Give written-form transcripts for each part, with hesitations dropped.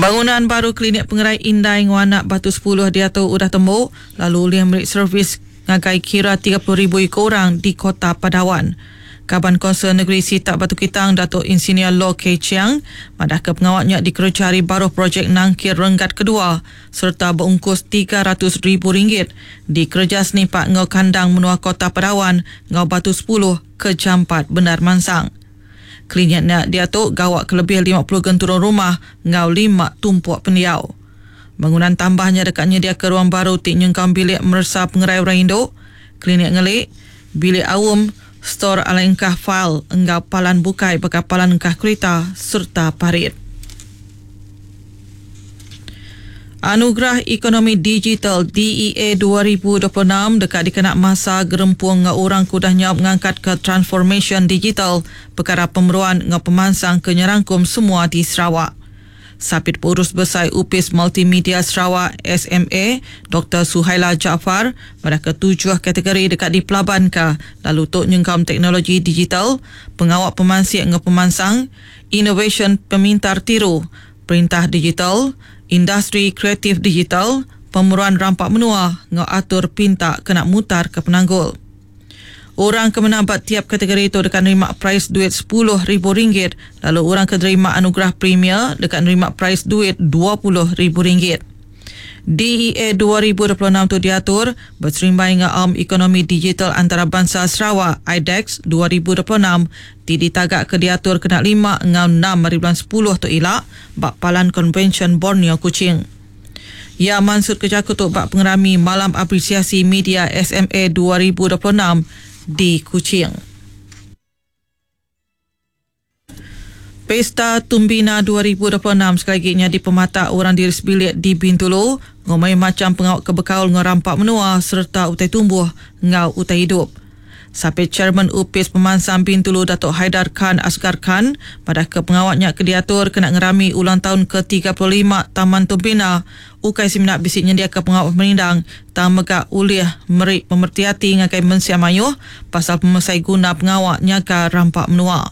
Bangunan baru Klinik Pengerai Indai enggau Anak Batu sepuluh diatu udah tembu lalu ulih meri servis ngagai kira 30,000 iku orang di Kota Padawan. Kaban Kaunsil Negeri Sitak Batu Kitang Datuk Insinyur Lo Kei Chiang madahka pengawa nya dikereja ari baruh projek nangkir renggat kedua sereta beungkus 300 ribu ringgit dikereja senipak enggau kandang menua Kota Padawan enggau Batu sepuluh ke jampat bendar mansang. Klinik nya diatu gawa ke lebih 50 genturung rumah enggau lima tumpuk pendiau. Bangunan tambah nya deka nyediaka ruang baru ti nyengkaum bilik meresa pengerai orang indu, klinik ngeli, bilik aum, stor alai engkah fail enggau palan bukai baka palan engkah kerita sereta parit. Anugerah Ekonomi Digital DEA 2026 deka dikena masa gerempung enggau orang ke udah nyaup ngangkatka transformasyen digital pekara pemeruan enggau pemansang ke nyerangkum semua di Sarawak. Sapit Pengurus Besai Opis Multimedia Sarawak, SMA, Doktor Suhaila Jaafar madahka tujuh kategori deka dipelabanka lalu tu nyengkaum teknologi digital, pengawa pemansik enggau pemansang, inovasyen pemintar tiru, perintah digital, industri kreatif digital, pemeruan rampa menua enggau atur pinta kena mutarka penanggul. Orang ke menang ba tiap kategori tu deka nerima perais duit sepuluh ribu ringgit lalu orang ke nerima anugerah premier deka nerima perais duit 20 ribu ringgit. DEA 2026 tu diatur beserimbai enggau Aum Ekonomi Digital Antarabangsa Sarawak IDEX 2026 ti ditagak ke diatur kena 5 enggau 6 hari bulan 10 tu ila ba Palan Konvensyen Borneo Kuching. Iya mansut ke jaku tu ba pengerami Malam Apresiasi Media SMA 2026 di Kuching. Pesta Tumbina 2026 sekali lagi nyadi pematak orang diri sebilik di Bintulu ngumbai macam pengawa ke bekaul enggau rampa menua sereta utai tumbuh enggau utai idup. Sapit Chairman Opis Pemansang Bintulu Datuk Haidar Khan Asgar Khan pada ke pengawaknya ke diatur kena ngerami ulang tahun ke-35 Taman Tumbina ukai semina bisi nyendiaka pengawak pemerindang tang mega ulih meri pemertiati ngagai mensia mayuh pasal pemesai guna pengawak nyaga rampa menua.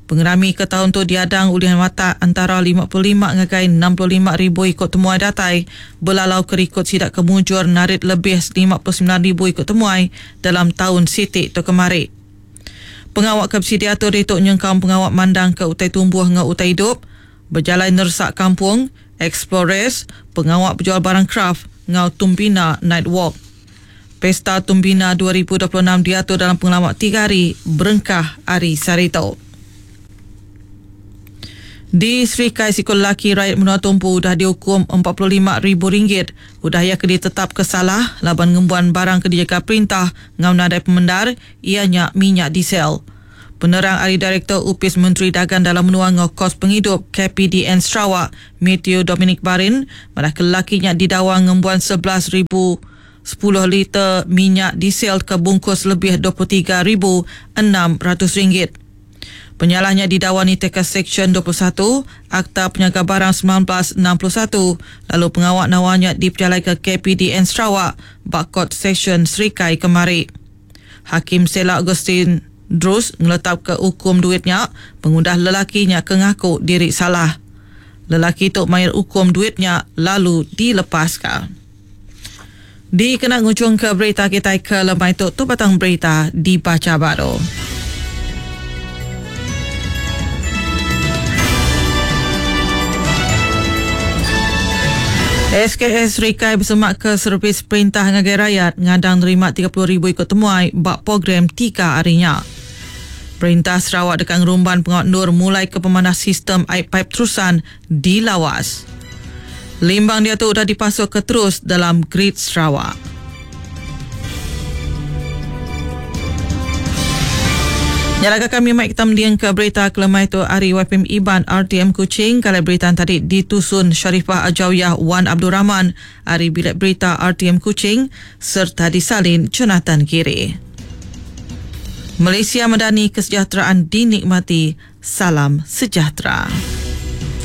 Pengerami ke tahun tu diadang ulih matak antara 55 ngagai 65 ribu ikut temuai datai belalau ke rikod sidak ke mujur narit lebih 59 ribu ikut temuai dalam tahun siti tu kemari. Pengawak ke bisi diatur itu nyengkaum pengawak mandang ke utai tumbuh enggau utai hidup, berjalai nersak kampung, explorers, pengawak berjual barang craft enggau Tumbina Night Walk. Pesta Tumbina 2026 diatur dalam pengelama 3 hari berengkah hari Sarito. Di Serikai Sikul Lelaki Rakyat Menua Tumpu dah dihukum RM45,000. Udah ia ke ditetap ke salah laban ngembuan barang ke dijaga perintah ngau nadai pemendar ianya minyak diesel. Penerang ari Direktor Opis Menteri Dagang Dalam Menua ngau Kos Penghidup KPDN Sarawak, Matthew Dominic Barin, madah ke lelakinya didawa ngembuan 11,010 liter minyak diesel ke bungkus lebih RM23,600. Penyalahnya didakwa nitihka Seksyen 21 Akta Penyaga Barang 1961 lalu pengawak nawanya diperjalai ke KPDN Sarawak bak Court Session Serikai kemari. Hakim Sela Augustine Drus ngeletak ke hukum duitnya pengudah lelakinya ke ngaku diri salah. Lelaki tu mayar hukum duitnya lalu dilepaskan. Dikena ngujung ke berita kita ke lemai tu, tu batang berita dibaca baru. SKS Rikai bersemak ke servis perintah ngagai rakyat ngadang nerima 30,000 ikut temuai bak program 3 harinya. Perintah Sarawak dekat ngerumban pengawal nur mulai ke pemanah sistem air pipe terusan di Lawas. Limbang dia tu sudah dipasuk ke terus dalam grid Sarawak. Nyalaga kami mai kita mending ke berita kelemai tu hari YPM Iban RTM Kuching. Kalau berita tadi ditusun Sharifah Ajawyah Wan Abdul Rahman hari bilik berita RTM Kuching serta disalin Jonathan Kiri. Malaysia Madani kesejahteraan dinikmati. Salam sejahtera.